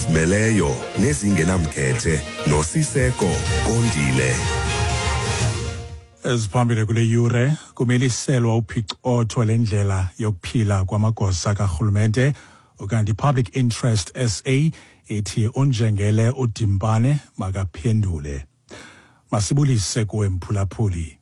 Ezizimeleyo nezingenamkhethe noSiseko Kondile. Eziphambili kule yure kumiliselwa uphicotho lendlela yokuphila kwamagosa karhulumente, ukanti Public Interest SA ithi unjengele uDimpane makaphendule. Masibulise kuwe mphulaphuli.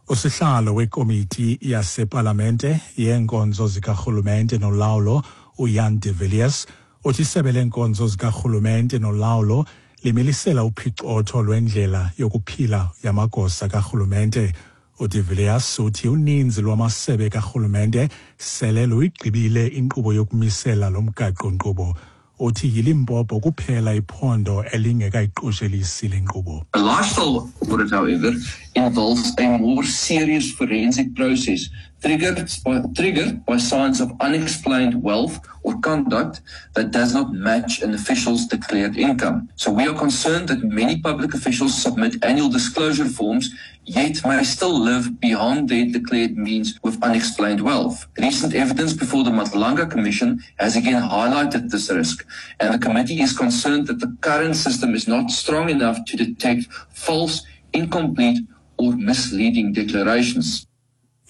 Usihlalo wekomiti yasepalamente yeenkonzo zikarhulumente nolawulo uJan de Villiers uthi isebe leenkonzo zikarhulumente nolawulo limilisela uphicotho lwendlela yokuphila yamagosa karhulumente. UDe Villiers uthi uninzi lwamasebe karhulumente sele luyigqibile inkqubo yokumisela lo mgaqo-nkqubo. Uthi yiLimpopo kuphela iphondo elingekayiqoshelisi le nkqubo. A lifestyle audit, however, involves a more serious forensic process triggered by signs of unexplained wealth or conduct that does not match an official's declared income. So we are concerned that many public officials submit annual disclosure forms, yet may still live beyond their declared means with unexplained wealth. Recent evidence before the Madlanga Commission has again highlighted this risk, and the committee is concerned that the current system is not strong enough to detect false, incomplete, or misleading declarations.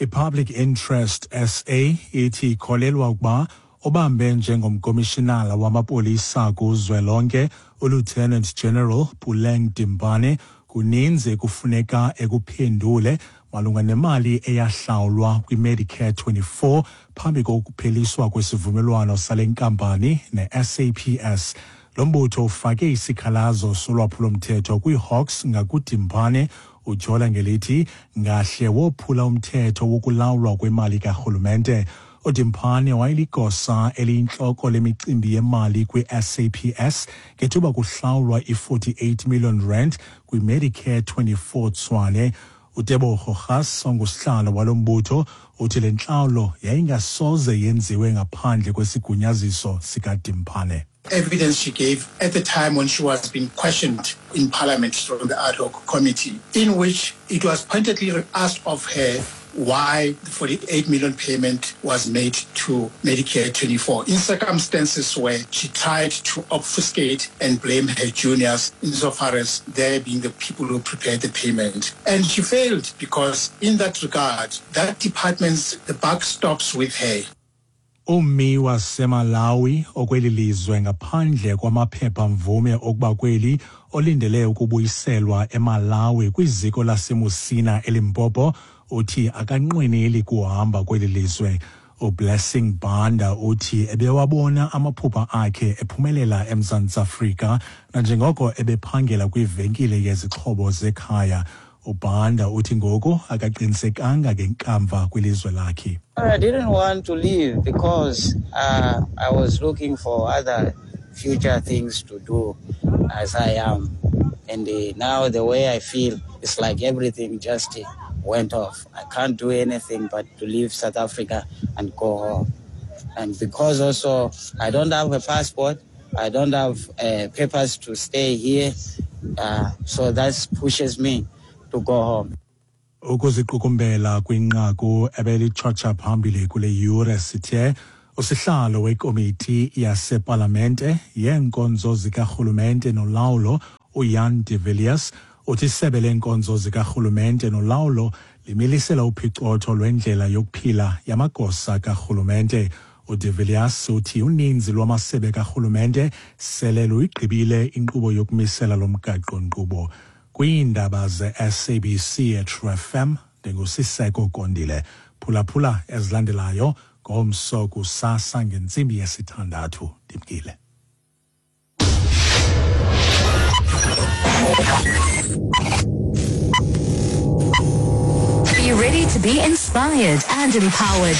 I-Public Interest SA ithi ikholelwa ukuba obambe njengomkomishinala wamapolisa kuzwelonke uLieutenant General Puleng Dimpane kuninzi ekufuneka ekuphendule malunga nemali eyahlawulwa kwiMedicare 24 phambi kokupheliswa kwesivumelwano sale nkampani ne-SAPS. Lo mbutho ufake isikhalazo solwaphulomthetho kwiiHawks ngakuDimpane, utyhola ngelithi ngahle wophula umthetho wokulawulwa kwemali karhulumente. UDimpane wayeligosa eliyintloko lemicimbi yemali kwi-SAPS ngethuba kuhlawulwa i-48 million rand kwiMedicare 24 Tshwane. UTebogo Gas, ongusihlalo walo mbutho, uthi le ntlawulo yayingasoze yenziwe ngaphandle kwesigunyaziso sikaDimpane. Evidence she gave at the time when she was being questioned in Parliament from the ad hoc committee, in which it was pointedly asked of her why the 48 million payment was made to Medicare 24 in circumstances where she tried to obfuscate and blame her juniors insofar as they being the people who prepared the payment. And she failed because in that regard, that department's, the buck stops with her. Ummi waseMalawi okweli lizwe ngaphandle kwamaphepha mvume okuba kweli olindele ukubuyiselwa eMalawi kwiziko laseMusina eLimpopo uthi akanqweneli kuhamba kweli lizwe. UBlessing Banda uthi ebewabona amaphupha akhe ephumelela eMzantsi Afrika nanjengoko ebephangela kwivenkile yezixhobo zekhaya. UBanda uthi ngoku akaqinisekanga ngenkamva kwilizwe lakhe. I didn't want to leave because I was looking for other future things to do as I am. And now the way I feel, it's like everything just went off. I can't do anything but to leave South Africa and go home. And because also I don't have a passport, I don't have papers to stay here, so that pushes me to go home. Ukuziqukumbela kwinqaku ebelitshotsha phambili kule yure, sithe usihlalo wekomiti yasepalamente yeenkonzo zikarhulumente nolawulo uJan de Villiers uthi isebe leenkonzo zikarhulumente nolawulo limilisela uphicotho lwendlela yokuphila yamagosa karhulumente. UDe Villiers uthi uninzi lwamasebe karhulumente sele luyigqibile inkqubo yokumisela lo mgaqo-nkqubo. Kwiindaba ze-SABC eTrue FM, ndinguSiseko Kondile. Phulaphula ezilandelayo ngomso kusasa ngentsimbi yesithandathu. Ndimkile. Be ready to be inspired and empowered.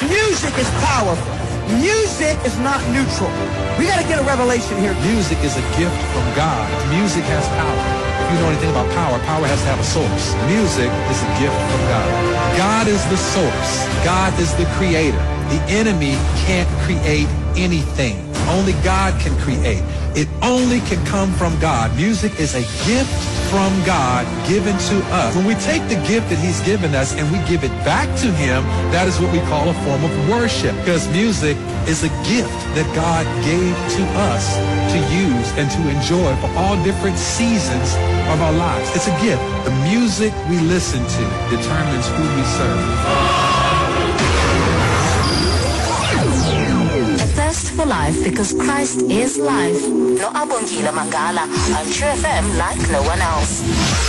Music is powerful. Music is not neutral. We got to get a revelation here. Music is a gift from God. Music has power. If you know anything about power, power has to have a source. Music is a gift from God. God is the source. God is the creator. The enemy can't create anything. Only God can create. It only can come from God. Music is a gift from God given to us. When we take the gift that he's given us and we give it back to him, that is what we call a form of worship, because music is a gift that God gave to us to use and to enjoy for all different seasons of our lives. It's a gift. The music we listen to determines who we serve. A thirst for life because Christ is life. No Abongile Mangala on True FM like no one else.